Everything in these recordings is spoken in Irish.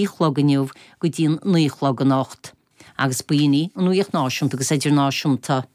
chlog inniu go dtí an 9 a chlog anocht. Agus b'in í an Nuacht Náisiúnta agus Idirnáisiúnta.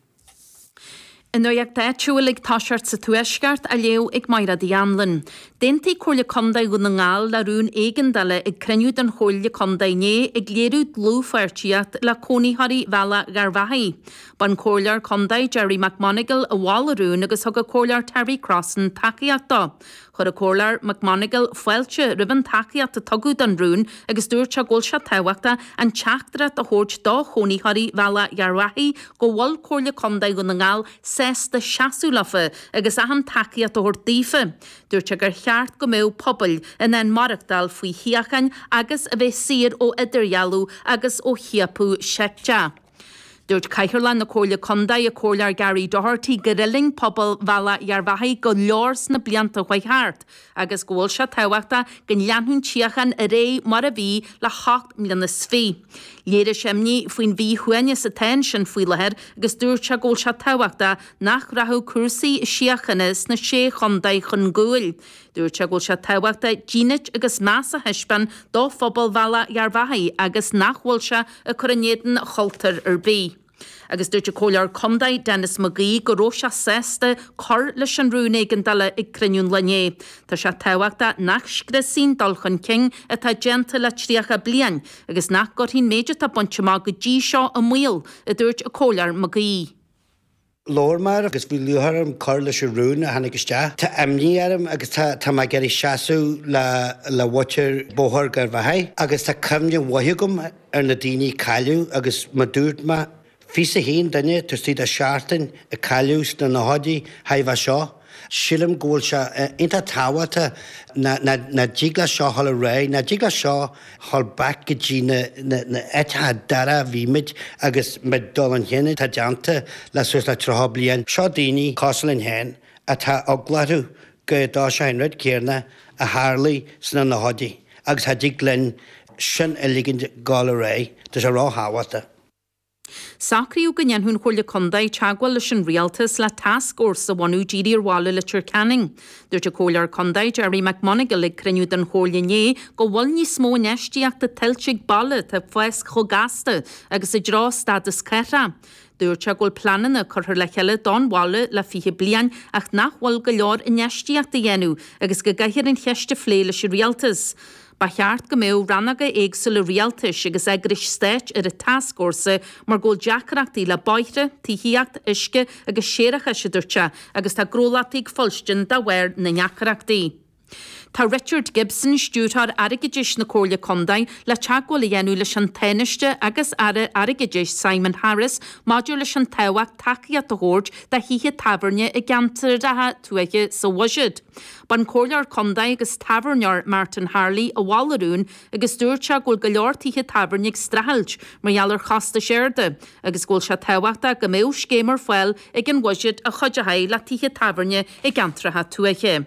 An nuacht áitiúil ag toiseacht sa Tuaisceart á léamh ag Mairéad Uí Anluain. D'aontaigh Comhairle Contae Dhún na nGall le rún éigeandála ag cruinniú den Chomhairle Contae inné ag léiriú dlúthpháirtíocht le cónaitheoirí Bhealach Gharbhachaidh. B'an Comhairleoir Contae Gerry McMonagall a mhol an rún agus thug an Comhairleoir Terry Crossan tacaíocht dó. Chuir an Comhairleoir McMonagall fáilte roimh an tacaíocht a tugadh don rún agus dúirt sé go bhfuil sé tábhachtach an teachtaireacht a thabhairt do chónaitheoirí Bhealach Gharbhachaidh go bhfuil Comhairle Contae Dhún na nGall sásta seasamh leofa agus achan tacaíocht a thabhairt daofa. Dúirt sé gur cheart go mbeadh pobail in ann maireachtáil faoi shíocháin agus a bheith saor ó idirdhealú agus ó chiapadh seicteach. Dúirt Cathaoirleach na Comhairle Contae, an Comhairleoir Gary Doherty, gur fhulaing pobal Bhealach Gharbhachaidh go leor sna blianta a chuaigh thart agus go bhfuil sé tábhachtach go leanfadh an tsíocháin ar aghaidh mar a bhí le hocht mbliana is fiche. Léirigh sé imní faoin mhíshuaimhneas atá ansin faoi láthair agus dúirt sé go bhfuil sé tábhachtach nach rachadh cúrsaí síochána sna Sé Chontae chun gcúil. Dúirt sé go bhfuil sé tábhachtach dínit agus meas a thaispeáin do phobal Bhealach Gharbhachaidh agus nach bhfuil sé ag cur in éadan chultúr ar bith. Agus dúirt an Comhairleoir Contae Denis McGee go raibh sé sásta cur leis an rún éigeandála ag cruinniú an lae inné. Tá sé tábhachtach nach scriosfaí an dul chun cinn atá déanta le 30 bliain agus nach gcuirfí an méid atá bainte amach go dtí seo i mbaol, a dúirt an Comhairleoir McGee. Labhair mé agus bhí lúcháir orm cur leis an rún a tháinig isteach. Tá imní orm agus tá tá mé ag iarraidh seasamh le le mhuintir Bóthar Gharbhachaidh agus tá cuimhne mhaith agam ar na daoine a cailleadh agus mar dúirt mé 21 duine taobh istigh de seachtain a cailleadh sna nóchaidí roimhe seo. Sílim go bhfuil sé iontach tábhachtach nach dtig leis seo dhul ar aghaidh, nach dtig leis seo dhul back go dtí na áiteacha dorcha a bhí muid agus muid dul chun cinn atá déanta le suas le 30 bliain. Seo daoine cosúil linn féin atá eagla orthu go dtarlóidh sé an rud céanna a tharlaigh sna nóchaidí agus cha dtig linn sin a ligint dhul ar aghaidh. Tá sé ró-thábhachtach. Socraíodh go ndéanfadh an Chomhairle Contae teagmháil leis an Rialtas le tascfhórsa a bhunú dírithe ar bhaile Leitir Ceanainn. Dúirt an Comhairleoir Contae Gerry McMonagall ag cruinniú den Chomhairle inné go bhfuil níos mó infheistíochta tuillte ag baile atá ag fás chomh gasta agus i dtreo stádas cathrach. Dúirt sé go bhfuil pleananna curtha le chéile don bhaile le 20 bliain ach nach bhfuil go leor infheistíochta á dhéanamh agus go gcaithfear an cheist a phlé leis an Rialtas. Ba cheart go mbeadh rannóga éagsúla rialtais agus eagrais stáit ar an tascfhórsa mar go bhfuil deacrachtaí le bóithre, tithíocht, uisce agus séarachais, a dúirt sé, agus tá gnólachtaí ag fuilstin de bharr na ndeacrachtaí. Tá Richard Gibson, Stiúrthóir Airgeadais na Comhairle Contae, le teagmháil a dhéanamh leis an Tánaiste agus Aire Airgeadais Simon Harris maidir leis an tábhacht tacaíocht a thabhairt do thithe tábhairne i gceantracha tuaithe sa bhuiséad. B'an Comhairleoir Contae agus tábhairneoir Martin Harley a mhol an rún agus dúirt sé go bhfuil go leor tithe tábhairne ag streachailt mar gheall ar chostais arda agus go bhfuil sé tábhachtach go mbeadh scéim ar fáil ag an bhuiséad a chuideoidh le tithe tábhairne i gceantracha tuaithe.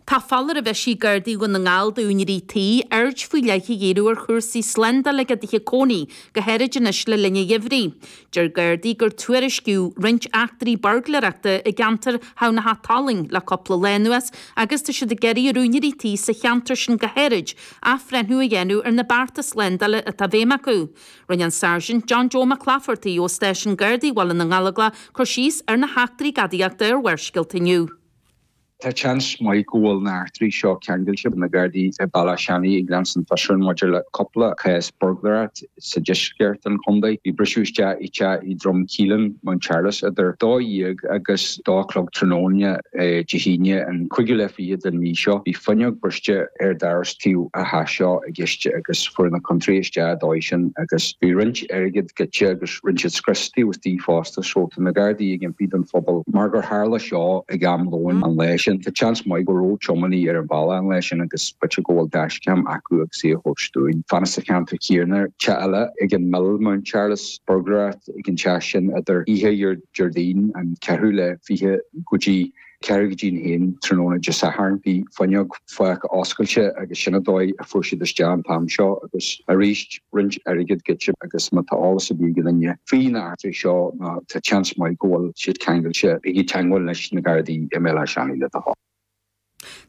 Tá foláireamh eisithe ag Gardaí Dhún na nGall d'úinéirí tí aird faoi leith a dhíriú ar chúrsaí slándála ag a dtithe cónaí, go háirid anois le linn an gheimhridh. Deir Gardaí gur tuairiscíodh roinnt eachtraí buirgléireachta i gceantar Thamhnach Tolaing le cúpla lá anuas agus tá siad ag iarraidh ar úinéirí tí sa cheantar sin go háirid athbhreithniú a dhéanamh ar na bearta slándála atá i bhfeidhm acu. Rinne an Sáirsint John Joe Mac Laifeartaigh ó Stáisiún Gardaí Bhaile na nGallóglach cur síos ar na heachtraí gadaíochta ar Bharrscéalta inniu. Tá seans maith go bhfuil na heachtraí seo ceangailte, na Gardaí i Bealach Seanaidh ag leanstan fiosrúchán maidir le cúpla cás buirgléireacht sa deisceart den chontae. Bhí briseadh isteach i teach i Droim Caoláin, Mountcharles idir 12 agus 2 a chlog tráthnóna Dé hAoine an cúigiú lá fichead den mhí seo. Bhí fuinneog briste ar doras taobh an teach seo i gceist agus fuair na contrálaithe isteach an dóigh sin agus bhí roinnt airgead goidte agus Rinne siad scrios taobh istigh fosta so tá na Gardaí ag impí don phobal mar gur tharla seo ag am lóin an lae sin. Tá seans maith go raibh tiománaí ar an bhealach an lae sin agus b'fhéidir go bhfuil dashcam acu agus í a thabhairt dúinn. Fanacht sa cheantar céanna, teach eile ag an Mill, Mountcharles, buirgléireacht ag an teach sin idir oíche Déardaoin an ceathrú lá 20 go dtí ceathrú go dtí an haon tráthnóna Dé Sathairn. Bhí fuinneog fágtha oscailte agus sin an dóigh a fuair siad isteach an t-am seo agus arís roinnt airgead goidte agus má tá eolas ar bith ag duine faoi na heachtraí seo nó tá seans maith go bhfuil siad ceangailte, bígí i dteagmháil leis na Gardaí i mBéal Átha Seanaidh le do thoil.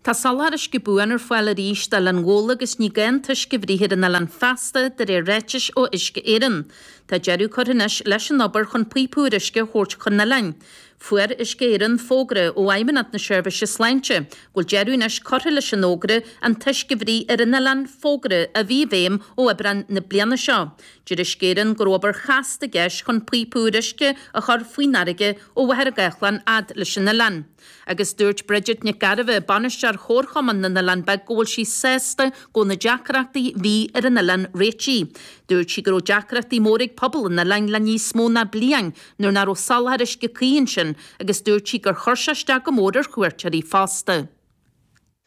Tá soláthar uisce buan ar fáil arís d'Oileán Ghabhla agus ní gá an t-uisce a bhruith ar an oileán feasta, de réir ráitis ó Uisce Éireann. Tá deireadh curtha anois leis an obair chun píopa úr uisce a thabhairt chun an oileáin. Fuair Uisce Éireann fógra ó Fheidhmeannacht na Seirbhíse Sláinte go bhfuil deireadh anois curtha leis an fhógra an t-uisce a bhruith ar an oileán, fógra a bhí i bhfeidhm ó Aibreán na bliana seo. Deir Uisce Éireann go raibh obair chasta i gceist chun píopa úr uisce a chur faoin fharraige ó Mhachaire Gathlán fhad leis an oileán. Agus dúirt Bridget Nic Gairbheith, Bainisteoir Chomharchumann na nOileán Beag go bhfuil sí sásta go bhfuil na deacrachtaí a bhí ar an oileán réitithe. Dúirt sí go raibh deacrachtaí móra ag pobal an oileáin le níos mó ná bliain nuair nach raibh soláthar uisce cuí ansin agus dúirt sí gur chuir sé isteach go mór ar chuairteoirí fosta.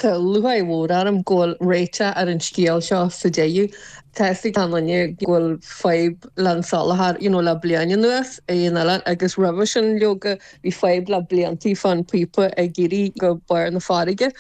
Tá lúcháir mhór orm go bhfuil réiteach ar an scéal seo sa deireadh. Tá fhios ag achan duine go bhfuil fadhb le an soláthar you know le bliain anuas ar an oileán agus roimhe sin leoga bhí fadhb le bliantaí fán píopa ag éirí go barr na farraige.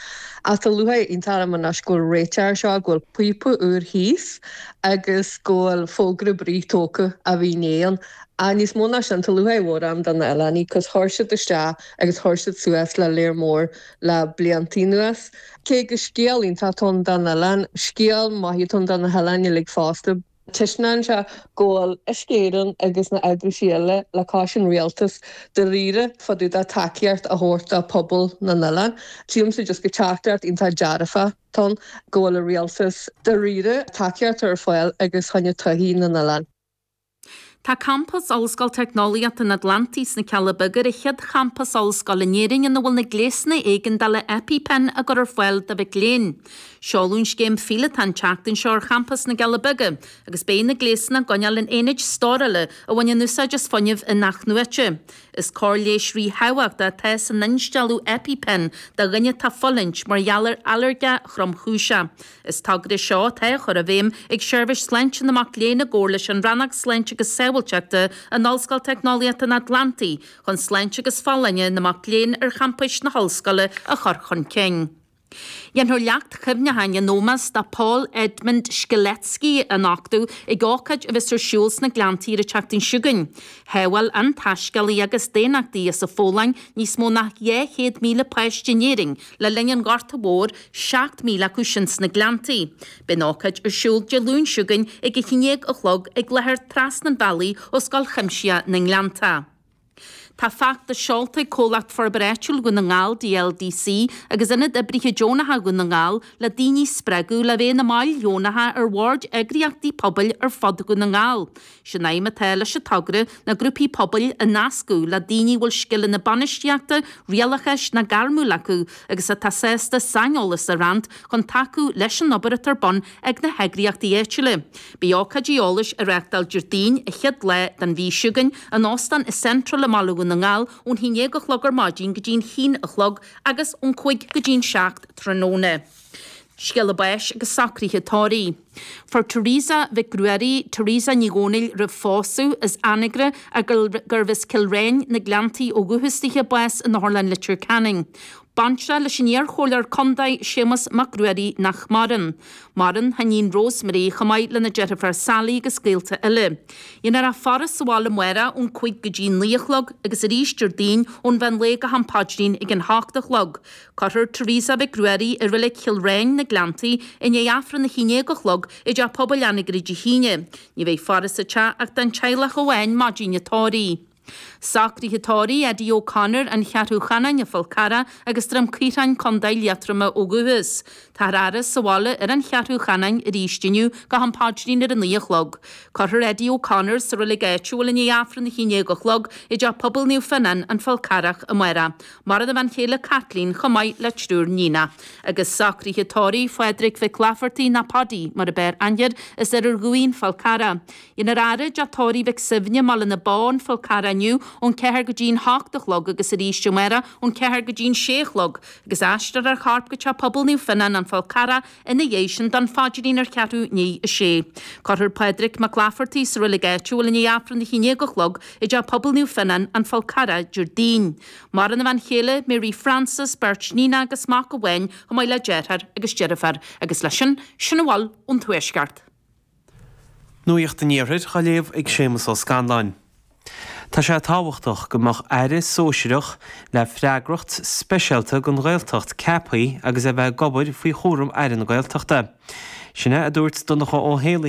Ach tá lúcháir iontach orm anois go bhfuil réiteach ar seo, go bhfuil píopa úr thíos agus go bhfuil fógra bruith tógtha a bhí inné ann. Ach níos mó ná sin tá lúcháir mhór orm do na oileánaigh 'cause chuir siad isteach agus chuir siad suas le léar mór le bliantaí anuas. Cé go scéal iontach atá ann don oileán, scéal maith atá ann do na hoileáin uilig fosta. Taispeánann sé go bhfuil Uisce Éireann agus na eagraisí eile le cois an rialtas dáiríre fá dtaobh de tacaíocht a thabhairt do phobal na n-oileán. Sílimse just go teachtaireacht iontach dearfach atá ann go bhfuil an rialtas dáiríre tacaíocht a chur ar fáil agus choinne todhchaí na n-oileán. Tá campas Ollscoil Teicneolaíochta an Atlantaigh sna Cealla Beaga ar an chéad champas ollscoile in Éirinn ina bhfuil na gléasanna éigeandála EpiPen á gcur ar fáil do mhic léinn. Seoladh an scéim phíolótach an tseachtain seo ar champas na gCealla Beaga agus beidh na gléasanna á gcoinneáil in aonaid stórála a bhaineann úsáid as fuinneamh in-athnuaite. Is cóir leighis ríthábhachtach atá san instealladh EpiPen do dhuine atá ag fulaingt mar gheall ar ailléirge thromchúiseach. Is togra é seo atá á chur i bhfeidhm ag Seirbhís Sláinte na Mac Léinn i gcomhar leis an Rannóg Sláinte agus Sábháilteachta in Ollscoil Teicneolaíochta an Atlantaigh chun sláinte agus folláine na mac léinn ar champais na hollscoile a chur chun cinn. Déanfar leacht chuimhneacháin in ómós do Paul Edmund Strzelecki a nochtadh ag ócáid a bheas ar siúl sna Gleanntaí ar an tseachtain seo chugainn. Shábháil an taiscéalaí agus daonnachtaí as an Pholainn níos mó ná 200,000 páiste in Éirinn le linn an Ghorta Mhóir, 7,000 acu sin sna Gleanntaí. Beidh an ócáid ar siúl Dé Luain seo chugainn ag a 11 a chlog ag láthair trasna an bhealaigh ó Scoil Chuimsitheach na nGleanntach. Tá feachtas seolta ag Comhlacht Forbartha Áitiúil Dhún na nGall, DLDC, agus Ionad Oibrithe Deonacha Dhún na nGall le daoine a spreagadh le bheith ina mbaill dheonacha ar bhoird eagraíochtaí pobail ar fud Dhún na nGall. Is é an aidhm atá leis an togra ná grúpaí pobail a nascadh le daoine a bhfuil scileanna bainistíochta, rialachais ná gairmiúil acu agus atá sásta saineolas a roinnt chun tacú leis an obair atá ar bun ag na heagraíochtaí áitiúla. Beidh ócáidí eolais á reáchtáil Déardaoin, an chéad lá den mhí seo chugainn, in Óstán an Central i mBaile Dhún na nGall ón 11 a chlog ar maidin go dtí an haon a chlog agus ón 5 go dtí an 7 tráthnóna. Scéala báis agus socruithe tórraimh. Fuair Teresa Mhic Ruairí, Teresa Ní Dhomhnaill roimh phósadh, as Anagaire gurbh as Cill Réin, na Gleanntaí ó dhúchas dithe, bás in Otharlann Leitir Ceanainn. Baintreach leis an iar-chomhairleoir contae Séamus Mac Ruairí nach maireann. Maireann a hiníon Rosemary chomh maith lena deirfiúr Sally agus gaolta eile. Dhéanfar a faire sa bhaile amárach ón 5 go dtí 9 a chlog agus arís Déardaoin ón mheán lae go ham paidrín ag an hocht a chlog. Cuirfear Teresa Mhic Ruairí i Reilig Chill Réin, na Gleanntaí, i ndiaidh Aifreann a haon déag a chlog i dTeach Pobail Anagaire Dé hAoine. Ní bheidh faire sa teach ach don teaghlach amháin maidin an tórraimh. Socruithe tórraimh Eddie O'Connor, An Cheathrú Chanáin, An Fál Carrach agus Droim Caothráin, Co. Liatroma ó dhúchas. Táthar á fhaire sa bhaile ar An Cheathrú Chanáin arís inniu go ham paidrín ar a naoi a chlog. Cuirfear Eddie O'Connor sa reilig áitiúil i ndiaidh Aifreann a haon déag a chlog i dTeach Pobail Naomh Fionnán, An Fál Carrach, amárach. Maireann a bhean chéile Caitlín chomh maith le triúr níonach. Agus socruithe tórraimh Phádraig Mhic Laifeartaigh ná Paddy mar ab fhearr aithne air as Iarthar Dhuibhne, An Fál Carrach. Dhéanfar a fhaire i dTeach Tórraimh Mhic Suibhne, Baile na Bó, An Fál Carrach inniu ón ceathair go dtí an hocht a chlog agus arís amárach ón ceathair go dtí an sé a chlog agus aistreofar a chorp go Teach Pobail Naomh Fionnán, An Fál Carrach Ina dhiaidh sin don phaidrín ar cheathrú i ndiaidh a sé. Cuirfear Pádraig Mac Laifeartaigh sa reilig áitiúil i ndiaidh Aifreann a haon déag a chlog i dTeach Pobail Naomh Fionnán, An Fál Carrach, Déardaoin. Maireann a bhean chéile, Mary Frances, beirt níonach agus mac amháin chomh maith le deartháir agus deirfiúr. Agus leis sin, sin a bhfuil ón Tuaisceart. Nuacht an Iarthair á léamh ag Séamus Ó Scanláin. Tá sé tábhachtach go mbeadh Aire sóisearach le freagracht speisialta don Ghaeltacht ceaptha agus é a bheith ag obair faoi chúram Aire na Gaeltachta. Sin é a dúirt Donncha Ó Héalaí.